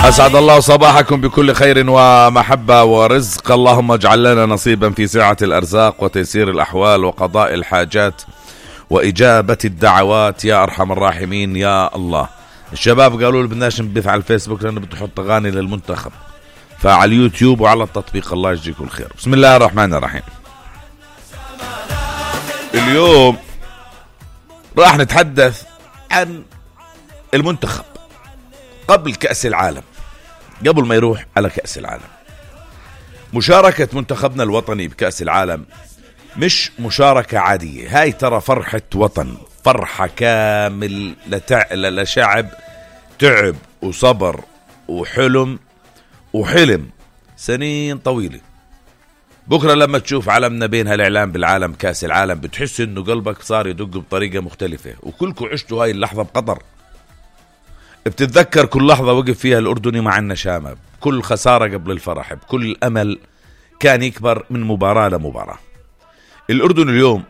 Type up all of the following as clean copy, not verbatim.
أسعد الله صباحكم بكل خير ومحبة ورزق. اللهم اجعل لنا نصيبا في سعة الأرزاق وتيسير الأحوال وقضاء الحاجات وإجابة الدعوات يا أرحم الراحمين يا الله. الشباب قالوا لي بدناش نبث على الفيسبوك لأنه بده يحط أغاني للمنتخب، فعلى اليوتيوب وعلى التطبيق. الله يجزيكم الخير. بسم الله الرحمن الرحيم. اليوم راح نتحدث عن المنتخب قبل كأس العالم، قبل ما يروح على كأس العالم. مشاركة منتخبنا الوطني بكأس العالم مش مشاركة عادية، هاي ترى فرحة وطن، فرحة كامل لشعب تعب وصبر وحلم سنين طويلة. بكرة لما تشوف علمنا بين هالإعلام بالعالم كأس العالم بتحس إنه قلبك صار يدق بطريقة مختلفة، وكلكم عشتوا هاي اللحظة بقطر. بتتذكر كل لحظة وقف فيها الأردني مع النشامة، كل خسارة قبل الفرح، بكل أمل كان يكبر من مباراة لمباراة. الأردن اليوم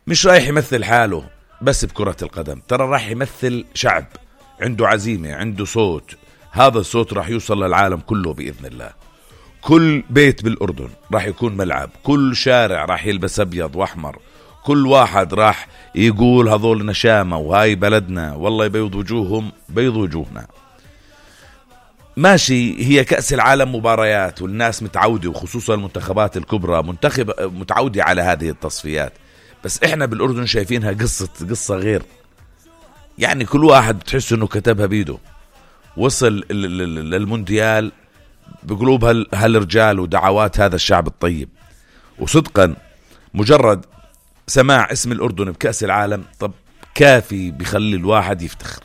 مش رايح يمثل حاله بس بكرة القدم، ترى راح يمثل شعب عنده عزيمة، عنده صوت. هذا الصوت راح يوصل للعالم كله بإذن الله. كل بيت بالأردن راح يكون ملعب، كل شارع راح يلبس أبيض وأحمر، كل واحد راح يقول هذول نشامة وهاي بلدنا، والله يبيض وجوههم بيض وجوهنا. ماشي، هي كأس العالم مباريات والناس متعودة، وخصوصا المنتخبات الكبرى متعودة على هذه التصفيات، بس احنا بالأردن شايفينها قصة غير. يعني كل واحد بتحس انه كتبها بيده. وصل للمونديال بقلوب هالرجال ودعوات هذا الشعب الطيب. وصدقا مجرد سماع اسم الأردن بكأس العالم طب كافي بيخلي الواحد يفتخر.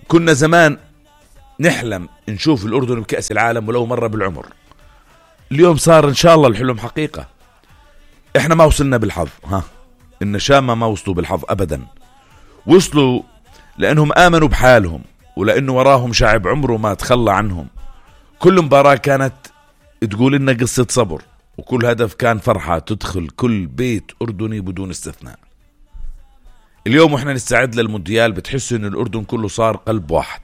كنا زمان نحلم نشوف الأردن بكأس العالم ولو مرة بالعمر، اليوم صار إن شاء الله الحلم حقيقة. إحنا ما وصلنا بالحظ، النشامة ما وصلوا بالحظ أبدا، وصلوا لأنهم آمنوا بحالهم ولأنه وراهم شعب عمره ما تخلى عنهم. كل مباراة كانت تقول لنا قصة صبر، وكل هدف كان فرحة تدخل كل بيت أردني بدون استثناء. اليوم وإحنا نستعد للمونديال بتحس إن الأردن كله صار قلب واحد،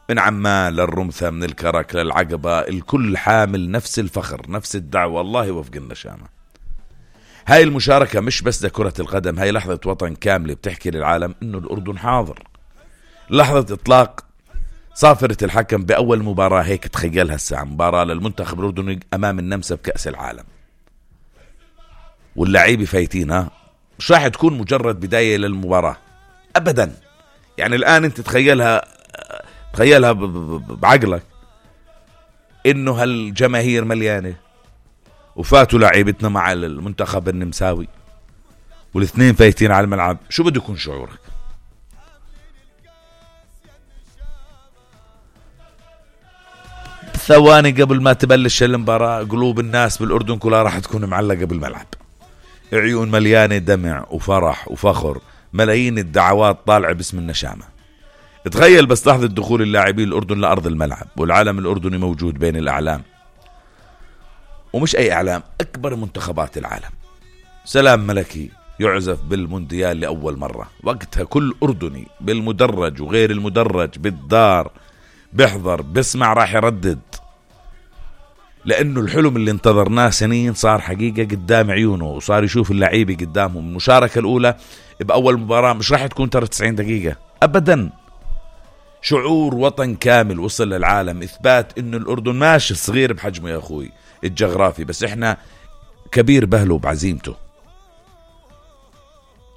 من عمان للرمثة، من الكرك للعقبة، الكل حامل نفس الفخر نفس الدعوة. الله وفق النشامة. هاي المشاركة مش بس لكرة القدم، هاي لحظة وطن كاملة بتحكي للعالم إنه الأردن حاضر. لحظة إطلاق صافرة الحكم بأول مباراة، هيك تخيلها الساعة، مباراة للمنتخب الأردني أمام النمسا بكأس العالم، واللاعبين فايتين. مش راح تكون مجرد بداية للمباراة أبدا. يعني الآن أنت تخيلها بعقلك إنه هالجماهير مليانة وفاتوا لاعبتنا مع المنتخب النمساوي والاثنين فايتين على الملعب، شو بده يكون شعورك؟ ثواني قبل ما تبلش المباراة قلوب الناس بالأردن كلها راح تكون معلقة بالملعب، عيون مليانة دمع وفرح وفخر، ملايين الدعوات طالعة باسم النشامة. تخيل بس لحظة دخول اللاعبين الأردن لأرض الملعب والعالم الأردني موجود بين الأعلام، ومش أي أعلام، أكبر منتخبات العالم. سلام ملكي يعزف بالمونديال لأول مرة، وقتها كل أردني بالمدرج وغير المدرج بالدار بيحضر بسمع راح يردد، لأنه الحلم اللي انتظرناه سنين صار حقيقة قدام عيونه، وصار يشوف اللعيبة قدامهم. المشاركة الأولى بأول مباراة مش راح تكون 90 دقيقة أبدا. شعور وطن كامل وصل للعالم، إثبات إنه الأردن ماشي صغير بحجمه يا أخوي الجغرافي، بس إحنا كبير بهله بعزيمته.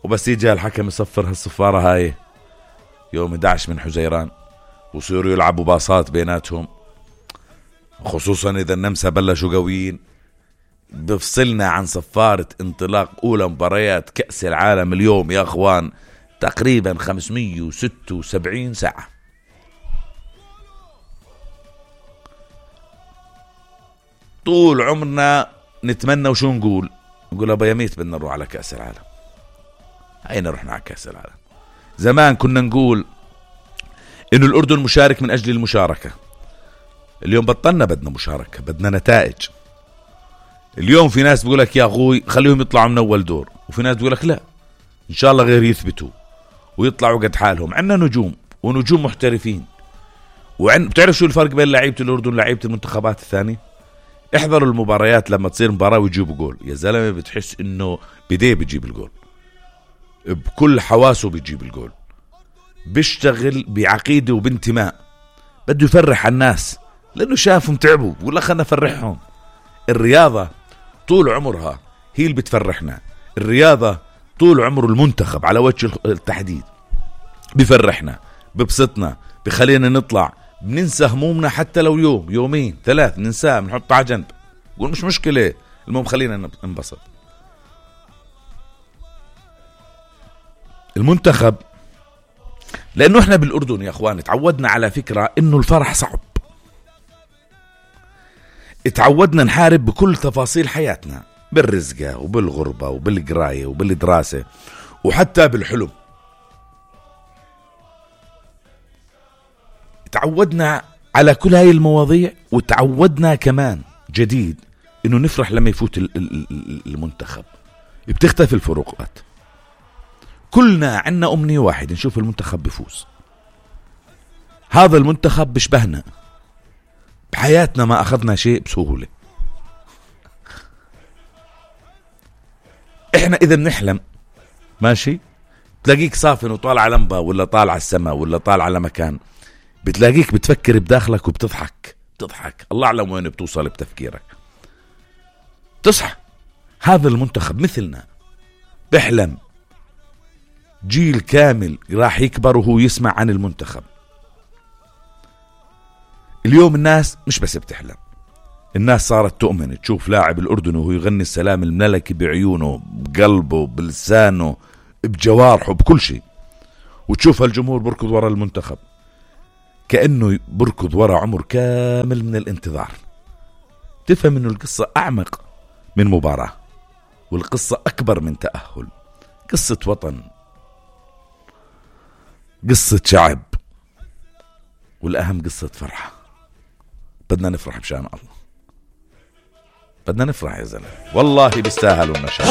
وبس يجي الحكم يصفر هالصفارة هاي يوم 11 من حزيران وصيروا يلعبوا باصات بيناتهم، خصوصا إذا النمسا بلشوا قويين، بفصلنا عن صفارة انطلاق أولى مباريات كأس العالم اليوم يا أخوان تقريبا 576 ساعة. طول عمرنا نتمنى وشو نقول أبا يميت بدنا نروح على كأس العالم. أين رحنا على كأس العالم؟ زمان كنا نقول إنه الأردن مشارك من أجل المشاركة، اليوم بطلنا بدنا مشاركة، بدنا نتائج. اليوم في ناس بيقولك يا أخوي خليهم يطلعوا من أول دور، وفي ناس بيقولك لا إن شاء الله غير يثبتوا ويطلعوا قد حالهم. عنا نجوم ونجوم محترفين، بتعرف شو الفرق بين لعيبة الأردن ولعيبة المنتخبات الثانية؟ احضروا المباريات لما تصير مباراة ويجيبوا جول، يا زلمة بتحس إنه بديه بيجيب الجول، بكل حواسه بيجيب الجول، بيشتغل بعقيدة وبانتماء، بده يفرح الناس لأنه شافهم تعبوا ولا خلنا نفرحهم. الرياضة طول عمرها هي اللي بتفرحنا، الرياضة طول عمر المنتخب على وجه التحديد بفرحنا، ببسطنا، بخلينا نطلع، بننسى همومنا حتى لو يوم يومين 3 ننساه، بنحطها على جنب، نقول مش مشكلة، المهم خلينا ننبسط. المنتخب لأنه احنا بالأردن يا اخوان تعودنا على فكرة انه الفرح صعب، اتعودنا نحارب بكل تفاصيل حياتنا، بالرزقة وبالغربة وبالقراية وبالدراسة وحتى بالحلم. تعودنا على كل هاي المواضيع، وتعودنا كمان جديد انه نفرح لما يفوت المنتخب. بتختفي الفروقات، كلنا عنا أمنية واحد، نشوف المنتخب بفوز. هذا المنتخب بشبهنا، بحياتنا ما أخذنا شيء بسهولة. إحنا إذا بنحلم ماشي تلاقيك صافن وطالع على لمبة ولا طالع على السماء ولا طالع على مكان، بتلاقيك بتفكر بداخلك وبتضحك، الله أعلم وين بتوصل بتفكيرك. تصحى هذا المنتخب مثلنا بحلم، جيل كامل راح يكبر وهو يسمع عن المنتخب. اليوم الناس مش بس بتحلم، الناس صارت تؤمن تشوف لاعب الأردن وهو يغني السلام الملكي بعيونه، بقلبه، بلسانه، بجوارحه، بكل شيء، وتشوف هالجمهور بركض وراء المنتخب كأنه بركض وراء عمر كامل من الانتظار. تفهم انه القصة أعمق من مباراة، والقصة أكبر من تأهل، قصة وطن، قصة شعب، والأهم قصة فرحة. بدنا نفرح بشان الله، بدنا نفرح يا زلمة، والله بيستاهلوا النشاط.